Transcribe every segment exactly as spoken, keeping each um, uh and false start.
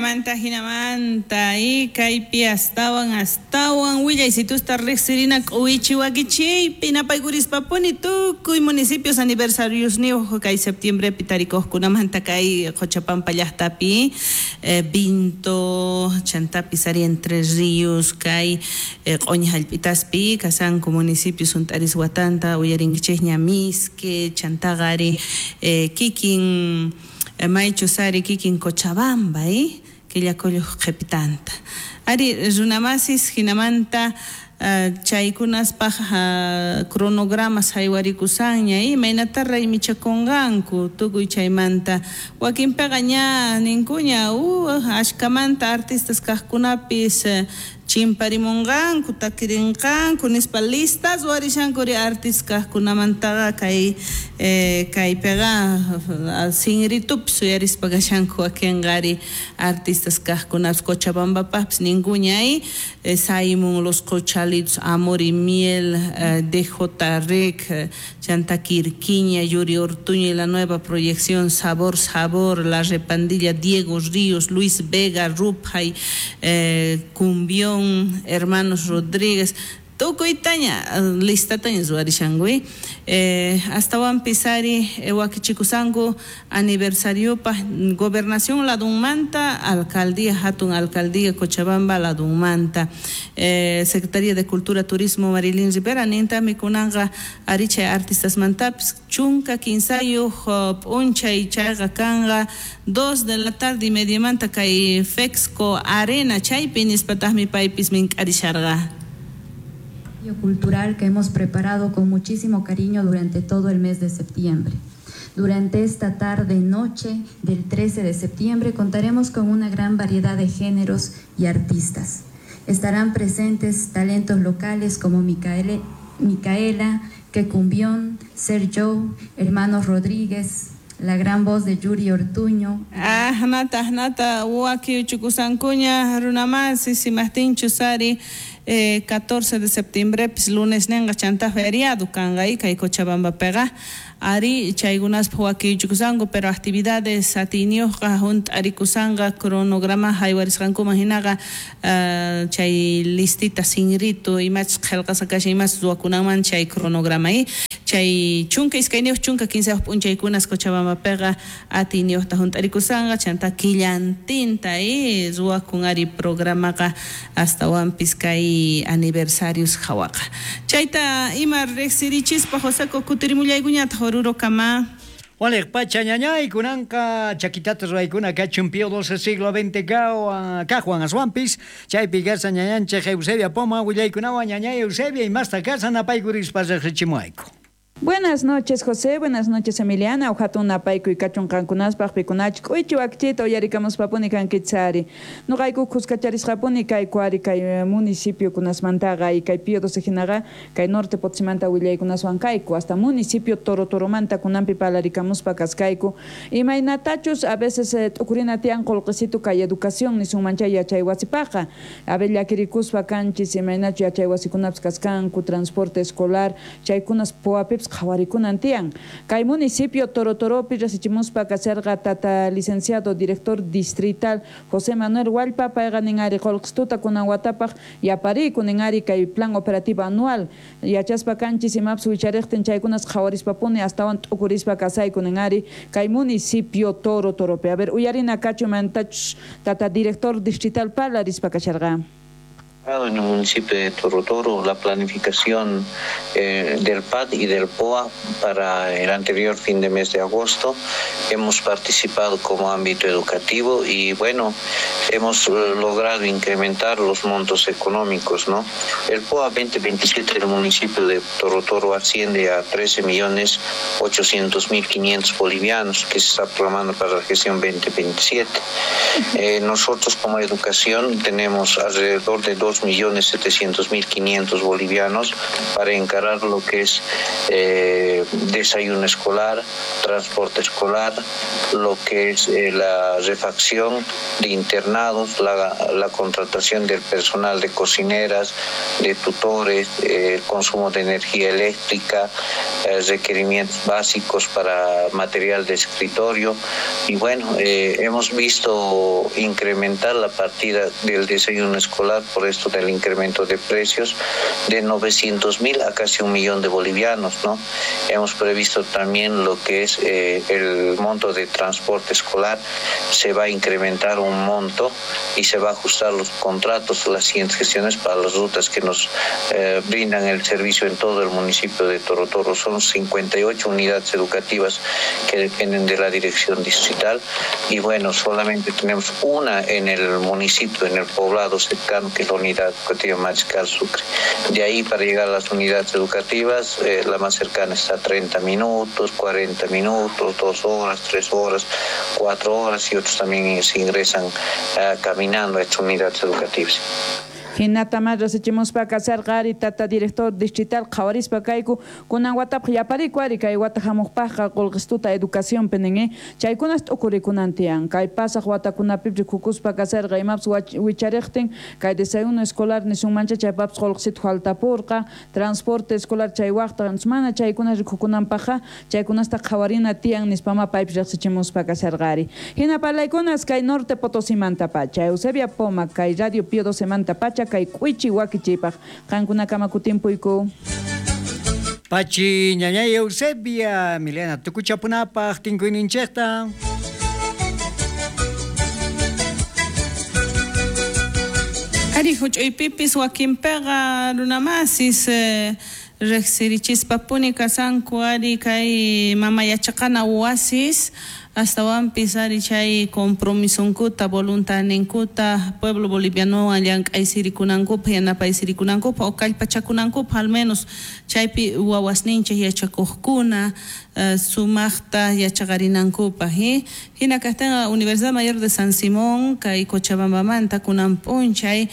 Jinamanta, jinamanta, y kaypi astawan, astawan, willaysitusta riqsirina k'uwichi wakichiypi napaykurishpapuni tukuy municipios aniversarios niyuq kay septiembrepi tarikuqkunamanta kay Qochapampa llaqtapi, eh, Vinto, chantapis ari Entre Ríos, kay eh, q'uñi hallp'itaspi kasanku municipios hunt'aris watanta uyarinkichikña Misque, chantaqa ari eh, kikin maychus ari kikin Cochabamba, eh? Killakulluq qhipitanta. Ari runamasis jinamanta uh, chaykunaspaq uh, cronogramas haywarikusqanña, imaynata raymichakunqanku tukuy chaymanta wakinpiqa ña ninkuña uh, ashkamanta artistas kaqkunapis uh, chimparimunqanku takirinqanku nispa listas warishankuri artistas kaqkunamantaqa kay eh, kaypiqa sinritupis uyarispa kashanku wakinqa ari artistas kaqkunapis Cochabambapaqpis ninkuña eh, Simon Los Cochalitos, Amor y Miel, eh, D J Rec, eh, Chanta Quirquiña, Yuri Ortuño y la nueva proyección Sabor Sabor, La Repandilla, Diego Ríos, Luis Vega, Rupjay, eh, Cumbión, Hermanos Rodríguez, tukuytaña listataña ruwarishanku eh, astawanpis ari eh, wakichikusanku aniversariopaj gobernación ladunmanta, alcaldía hatun alcaldía Cochabamba ladunmanta, eh, Secretaría de Cultura Turismo Marilyn Rivera nintami kunanqa ari chay artistasmantapis chunka kinsayuq p'unchay chayqa kanqa dos de la tarde y mediamanta kay Fexco Arena chaypi nispataqmi paypis mink'arisharqa. Cultural que hemos preparado con muchísimo cariño durante todo el mes de septiembre. Durante esta tarde-noche del trece de septiembre contaremos con una gran variedad de géneros y artistas. Estarán presentes talentos locales como Micaele, Micaela, Quecumbión, Sergio, Hermanos Rodríguez, la gran voz de Yuri Ortuño. Ah, nata, nata, waki uchukusankuña, runamasi, simahtinchu sari, eh, catorce de septiembre, pis lunes nenga chanta feriado, kanqa kay Cochabamba pega. Ari chaykunaspaq wakichukusanku, pero actividades atiyniyuqqa hunt'arikusqanqa cronograma haywarisqankuman hinaqa uh, chay listita sinritu imachus qillqasqa kashan imachus ruwakunanman chay cronograma eh? Chay chunka iskayniyuq chunka kinsayuq p'unchaykunas Cochabambapiqa atiyniyuqta hunt'arikusqanqa chanta killantinta eh? Ruwakun ari programaqa astawanpis kay aniversarios hawaqa. Chayta ima riqsirichispa Joseco kutirimullaykuñataq Oruro kama. Waliq pacha ñañay kunanqa chakitata ruwaykuna kachun Pío doce siglo veinte kaqwan aswanpis chaypi kasa ñañanchik Eusebia Poma willaykunawan ñañay Eusebia imasta kasa napaykurispa riqsichimuayku. Buenas noches, José. Buenas noches, Emiliana. Ujatun napaykuy kachun qankunaspaq pikunachik k'uychi wakchita uyarikamuspapuni kankichari. Nuqayku kuskacharisqapuni kayku ari kay municipio kunasmantaqa y kay Pío doce hinaqa kay norte Potosímanta willaykunaswan kayku hasta municipio Toro Toromanta kunanpi parlarikamuspa kaskayku. Imaynatachus a veces eh, t'ukurina tiyan qullqisitu kay educación nisunman chay yachay wasipaqa. A ver llakirikuspa kanchis imaynachu yachay wasikunapis kaskanku transporte escolar chaykunas puwapipis qhawarikunan tiyan. Kay municipio Toro Toropi rasichimuspa kasarqa tata licenciado director distrital José Manuel Hualpa payqa nin ari qullqistuta kunan watapaq yapariku nin ari kay plan operativo anual yachaspa kanchis imapis wichariqtin chaykunas qhawarispapuni astawan t'ukurispa kasayku nin ari kay municipio Toro Toropi. A ver, uyarina kachu mantachus tata director distrital parlarispa kasharqa. En el municipio de Toro Toro la planificación eh, del P A D y del P O A para el anterior fin de mes de agosto. Hemos participado como ámbito educativo y bueno, hemos logrado incrementar los montos económicos, ¿no? El P O A veinte veintisiete del municipio de Toro Toro asciende a trece millones ochocientos mil quinientos bolivianos que se está programando para la gestión veinte veintisiete. Eh, nosotros como educación tenemos alrededor de dos dos millones setecientos mil quinientos bolivianos para encarar lo que es eh, desayuno escolar, transporte escolar, lo que es eh, la refacción de internados, la, la contratación del personal de cocineras, de tutores, eh, el consumo de energía eléctrica, eh, requerimientos básicos para material de escritorio. Y bueno, eh, hemos visto incrementar la partida del desayuno escolar por esto del incremento de precios de novecientos mil a casi un millón de bolivianos, ¿no? Hemos previsto también lo que es eh, el monto de transporte escolar, se va a incrementar un monto y se va a ajustar los contratos, las siguientes gestiones para las rutas que nos eh, brindan el servicio en todo el municipio de Toro Toro. Son cincuenta y ocho unidades educativas que dependen de la dirección distrital y bueno, solamente tenemos una en el municipio, en el poblado cercano, que es la unidad educativa Mariscal Sucre. De ahí para llegar a las unidades educativas, eh, la más cercana está a treinta minutos, cuarenta minutos, dos horas, tres horas, cuatro horas, y otros también se ingresan eh, caminando a estas unidades educativas. Hinata más resichimuspa kasarqa ari tata director distrital qhawarispa kayku kunan watapaq yapariku ari kay wata hamuqpaqqa qullqistuta educación penen chaykunas t'ukurikunan tiyan kay pasaq watakunapi rikukuspa kasarqa imapas wichariqtin kay desayuno escolar nisunmancha chaypapas qullqisitu faltapurqa transporte escolar chay waqta mana chaykunas rikukunanpaqqa chaykunasta qhawarina tiyan nispama paypis riqsichimuspa kasarqa ari hina parlaykunas kay norte Potosimanta pacha Eusebia Poma kay Radio Pío doce pacha kay k'uichi wakichipaq qankunakama kutimpuyku. Pachi ñañay Eusebia, Milena tukuchapunapaq tinkuyninchikta. Ari huch'uypipis wakinpiqa runamasis eh, riqsirichispapuni kasanku ari kay mama yachaqana wasis astawanpis ari chay compromisonkuta voluntadninkuta pueblo bolivianowan llank'aysirikunankupaq yanapaysirikunankupaq o kallpachakunankupaq al menos chaypi wawasninchik yachakuqkuna uh, sumaqta yachaqarinankupaq eh? Hina kaqtinqa Universidad Mayor de San Simón kay Cochabambamanta kunan p'unchay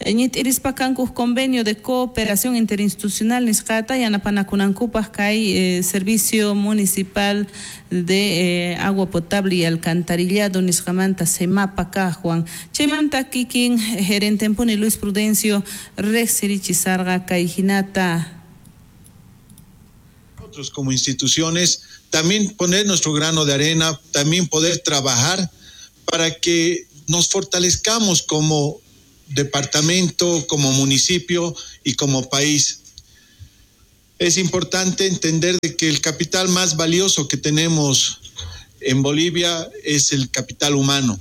ñit'irispa kanku convenio de cooperación interinstitucional nisqata yanapanakunankupaq kay eh, servicio municipal de eh, agua potable y alcantarillado nisqamanta SEMAPA kaqwan chaymanta kikin gerentempuni Luis Prudencio riqsirichisarqa kay hinata. Nosotros como instituciones también poner nuestro grano de arena, también poder trabajar para que nos fortalezcamos como departamento, como municipio y como país. Es importante entender de que el capital más valioso que tenemos en Bolivia es el capital humano,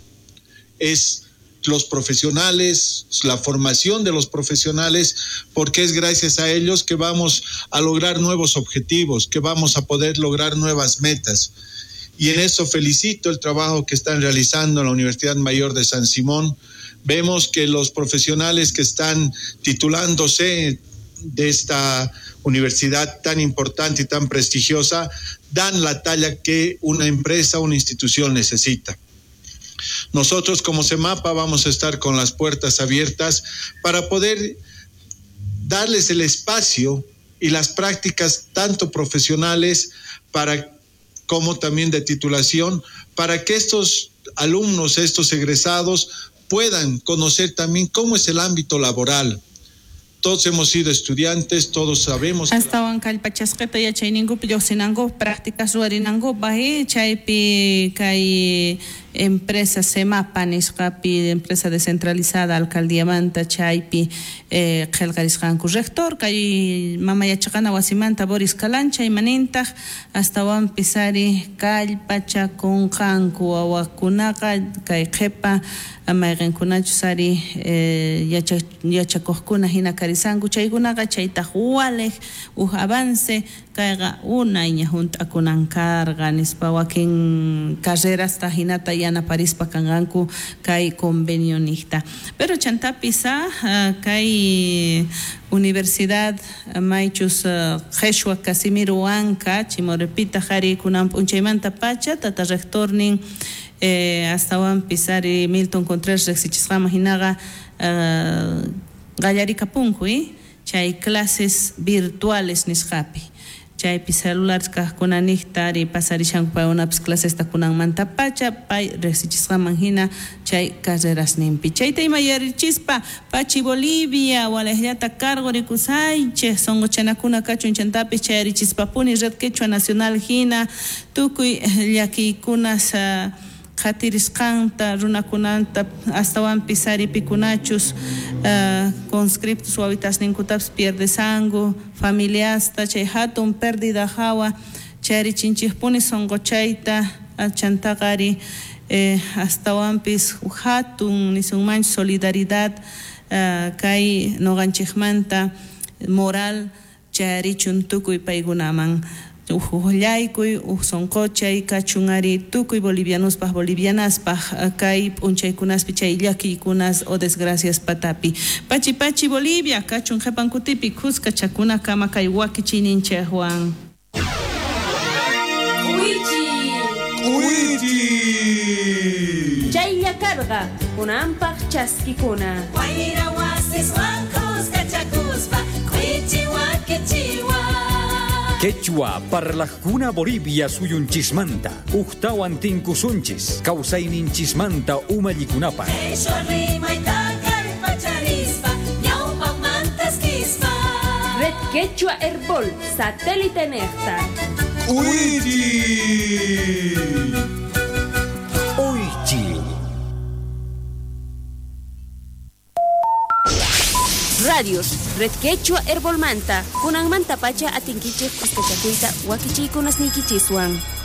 es los profesionales, la formación de los profesionales, porque es gracias a ellos que vamos a lograr nuevos objetivos, que vamos a poder lograr nuevas metas. Y en eso felicito el trabajo que están realizando en la Universidad Mayor de San Simón. Vemos que los profesionales que están titulándose de esta universidad tan importante y tan prestigiosa dan la talla que una empresa, una institución necesita. Nosotros como SEMAPA vamos a estar con las puertas abiertas para poder darles el espacio y las prácticas tanto profesionales para, como también de titulación, para que estos alumnos, estos egresados puedan conocer también cómo es el ámbito laboral. Todos hemos sido estudiantes, todos sabemos. Astawan kallpachasqita yachayninkupi lluqsinankupaq prácticas ruwarinankupaq chaypi kay empresa SEMAPA nisqapi empresa descentralizada alcaldiamanta chaypi eh, qillqarisqanku rector kay mama yachaqana wasimanta Boris Calancha imanintaq astawanpis ari kallpachakunqanku wawakunaqa kay qhipa mayqinkunachus ari eh, yacha, yachakuqkuna hina karisanku chaykunaqa chaytaq waliq uj avance kayqa unayña hunt'akunan karqa nispa wakin carrerasta hinata yanaparispa kanqanku kay convenio niqta. Pero chantapis kay Universidad maychus Qheshwa Casimiro Huanca Chimorepita qhari kunan p'unchaymanta pacha tata rectornin eh, astawanpis ari Milton Contreras riqsichisqaman hinaqa uh, qallarikapunku eh? Chay clases virtuales nisqapi chaypi celulares kaqkuna niqta ari pasarishanku paykunapis clasesta kunanmanta pacha pay riqsichisqaman hina chay carrerasninpi chayta ima yarichispa pachi Bolivia walejllata cargo rikusaychej sonqochanakuna kachun chantapis chayarichispapuni Red Quechua Nacional hina tukuy llakiykunas uh, qhatirisqanta runakunanta astawanpis ari pikunachus uh, conscriptos wawitasninkutapis pierdesanku familiasta chay hatun pérdida hawa chayrichinchikpuni sonqochayta chantaqa ari eh, astawanpis hatun nisunmanchu solidaridad uh, kay noqanchikmanta moral chayarichun tukuy paykunaman uqllaykuy uq sonqochay kachun ari tukuy bolivianospaj bolivianaspaj kay p'unchaykunaspi chay llakiykunas o desgracias patapi pachi pachi Bolivia kachun qhipankutipi kuska chakuna kama kay wakichiyninchikwan. K'uychi K'uychi chaylla karqa kunanpaq chaskikuna wayra wasiswan kuska chakuspa k'uychi wakichiwan. Quechua parlajkuna Bolivia suyunchismanta ujtawan tinkusunchis kawsayninchismanta umallikunapaq Red Quechua Herbol satélite nejta K'uychi Uychi. Radios Red Quechua Herbolmanta kunanmanta pacha atinkichej kuskachakuyta wakichiykunasniykichiswan.